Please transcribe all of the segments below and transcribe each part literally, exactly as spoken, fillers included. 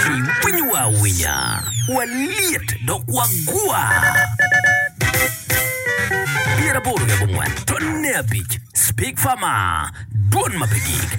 Iwinyowa awinya, walyet dok wagwa. Pyeraboro wiye abongwen tonne abic Speak Farmer, dwon ma pe gik.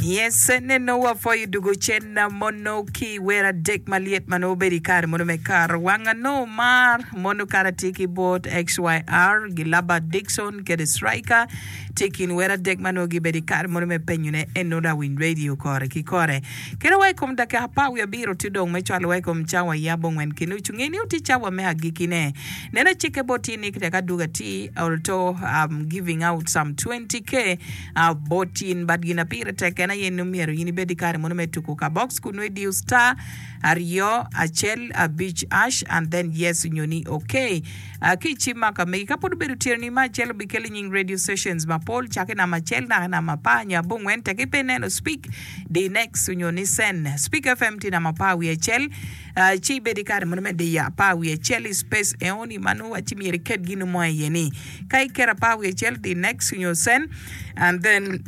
Yes, neno wapwoyo dugo cen mono ki wer adek malyet ma nongo obedo i kare mono me kar wang anongo mar mono kara tye ki bot X Y R Gilaba Dixon kede Striker tye i kin wer adek ma nongo gibedo i kare mono me penyone eno lawiny radio kore ki kore kede wa i kom dakika apar wiye abiro tye dong me cwalo wa i kom cawa i abongwen ki nucu nge ni otye cawa me agikine neno cikke bot tye ni tek aduga ti although I'm giving out some twenty k uh, bot in but gin apire tek en aye ni myero in ibed i kare mono me tuko ka box kun nongo idiyo star aryo acel abic hash and then yes nyo ni okay. uh, ki icim ma ka megi ka pud obedo tyeno ni ma acel obikelo nying radio stations mapol cake namba acel naka namba apar nyo abongwen tek ipe neno Speak di next nyo ni send Speak F M tye namba apar wiye acel uh, ci ibed i kare mono me diyo apar wiye acel i space eoni mano waci myero iket gino mo iye ni ka iketo apar wiye acel di next nyo send and then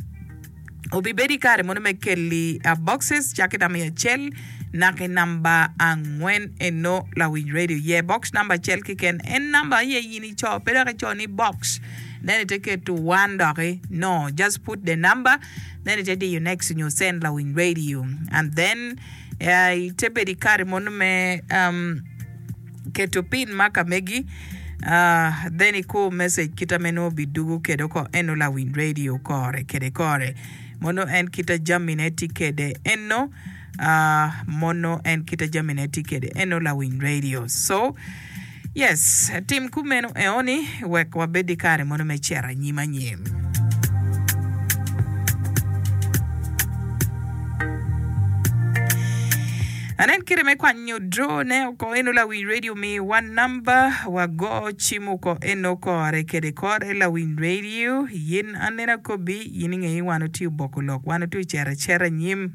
obibedo i kare mono me keli uh, boxes cake namba acel naka namba angwen eno lawiny radio ye box namba acel keken en namba aye in ico pe dok ico ni box then ite keto one doki no, just put the number, then ite diyo next nyo send lawiny radio and then uh, ite bedo i kare mono me um, keto pin ma ka megi uh, then ikur message kita meno obidugo kede oko eno lawiny radio kore kede kore mono en kita jamine tye kede eno uh, mono en kita jamine tye kede eno lawiny radio. So yes, tim kumeno eoni wek wabed i kare mono me cero anyim anyim. Anen kite me kwanyo draw ne oko eno lawiny radio mi one number wago cim oko eno kore kede kore lawiny radio yin anena kobi yin ing'eyi wan otiyo boko lok wan otiyo cero acera anyim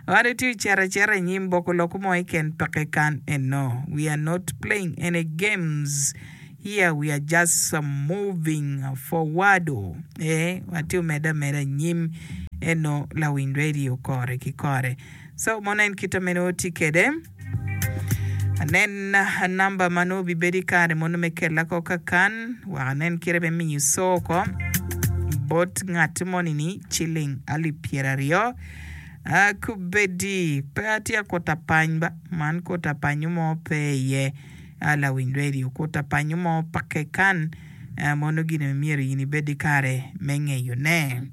wan otiyo cero acera anyim boko lok mo iken peke kan eno. We are not playing any games here, we are just uh, moving forward. Eh watiyo meda meda anyim eno lawiny radio kore ki kore. So mono en kita meno tye kede anen namba ma nongo obibedo i kare mono me kela ko kakan wek anen kite me miyo co ko bot ngat moni ni ciling alip pyeraryo uh, kubedi pe atye akuta pany ba man kuta panyo mo pe iye uh, lawiny radio kuta panyo mo pake kan uh, mono gine myero in ibed i kare me ngeyone.